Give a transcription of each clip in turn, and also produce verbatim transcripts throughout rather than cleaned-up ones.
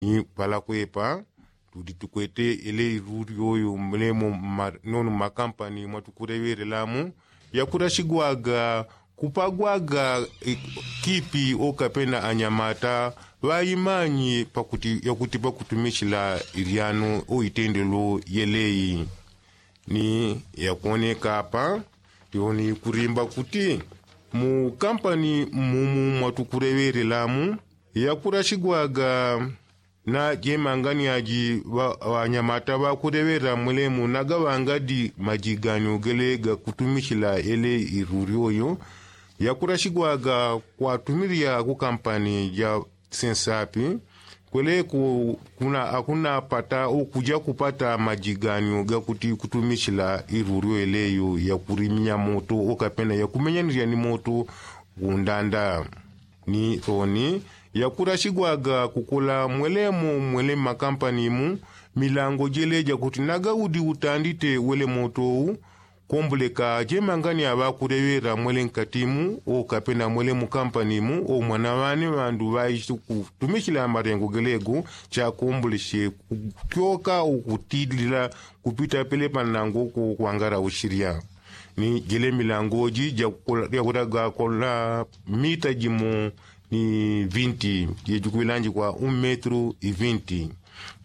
Ni palakwepa tudi tukwete ele iruri oyo mlemo nono mmakampani mwatukuleŵelelamu yakulasigwaga kupagwaga kipi okapena anyamata ŵaimanyi pakuti yakuti pakutumisila ilyano oitendelo yeleyi. Ni yakwoneka apa tioni kulimba kuti mu kampani mumu mwatukuleŵelelamu yakulasigwaga na jemangani aji ŵanyamata ŵakuleŵela mwelemu nagaŵangadi maji gani ugele gakutumisila ele iruri oyo yakulasigwaga kwatumilya ku kampani ja sensapi kweleko kuna akunapata ukuja kupata maji gani gakuti kutumisila iruri oyo eleyo yakulimya moto okapena yakumenyanilya ni moto gundanda. Ni toni yakulasigwaga kukola mwelemo mwele mmakampani mu milango jele jakuti nagaudi utandite wele moto u komboleka jemangani aŵakuleŵela mwele nkati mu okapena mwele mukampani mu omwana ŵane ŵandu ŵaisi kutumisila malengo gelego chakombolesye kutyoka ukutilila kupita pele panango ko kwangala usilya. Ni jele milango ji jakulaga kola mita jimo ni vinti jejikuŵilanjikwa un metru i vinti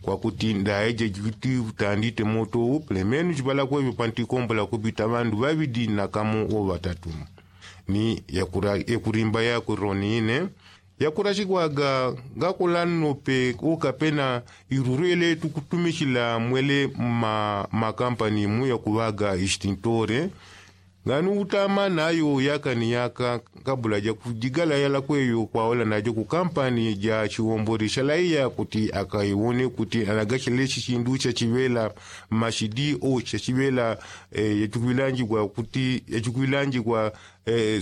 kwakuti ndaye jejikuti utandite moto u pelemenu jipalakwepe pantikombola kupita ŵandu ŵaŵidi na kamo oŵatatu. Ni yakulimba yakwe roni ine yakulasigwaga ngakola nnope okapena iruru ele tukutumisila mwele mmakampani mu yakuŵaga istintore ngani utama nayo yaka ni yaka kabula jakujigala yalakweyo kwaola najo ku kampani ja chiwombole shalaiya kuti akaiwone kuti anagasheleshi shindu shachiŵela mashidi o shachiŵela yachukwilanjigwa kuti yachukwilanjigwa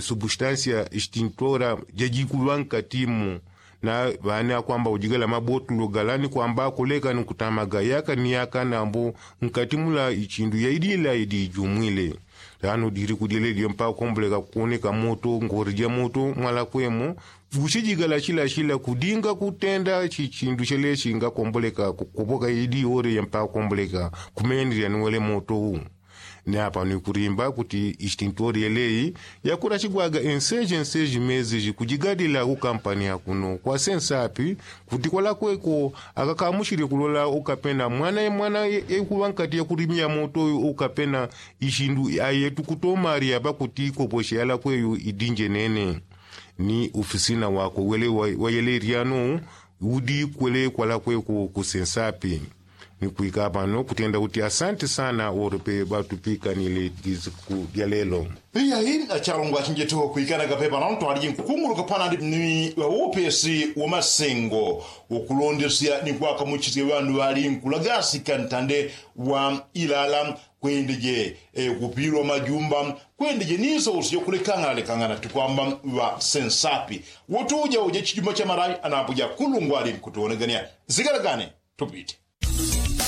substansia istintora jajikuŵa nkati mu. Na ŵane akwamba ujigala mabotulo gala ni kwamba akoleka ni kutamaga yaka ni yaka nambo nkati mula ichindu yaidila idi ijumwile. Tano diri kudilelye mpaka komboleka kukoneka moto ngore ja moto mwalakwemo. Vushijigala shilashila kudinga kutenda chichindu sheleshi ngakomboleka kukopoka idi ore ya mpaka komboleka kumendelya ni wele moto u. Ni apa ni kulimba kuti istintori yeleyi yakulasigwaga enseji enseji mezi jikujigadila ku kampani ya kuno kwa sensapi kuti kwalakweko akakamushile kulola ukapena mwana ye mwana ye kuŵa nkati ya kulimya moto ukapena ishindu aye tukutomalya pakuti ikoposhe yalakweyo idinje nene. Ni ufisina wakwe wele wayele ilyano udi kwele kwalakweko ku sensapi. Ni kwika pano kutenda kuti asante sana wolope ŵatupikanile disiku dya lelo. Iya hii achalongwa achinjeteho kwikana kapepa nantwaliji nkukunguluka panandi ni ŵaupesi wa masengo ukulondesya ni kwakamuchisya ŵandu ŵali nkulagasika ntande wa ilala kwendeje kupilwa majumba kwendeje ni sosi yokulekangana lekangana tukwamba ŵa sensapi. Wotuja uja chijumba cha malawi anapo ja kulungwali nkutuonegania zigalagane. Tupite.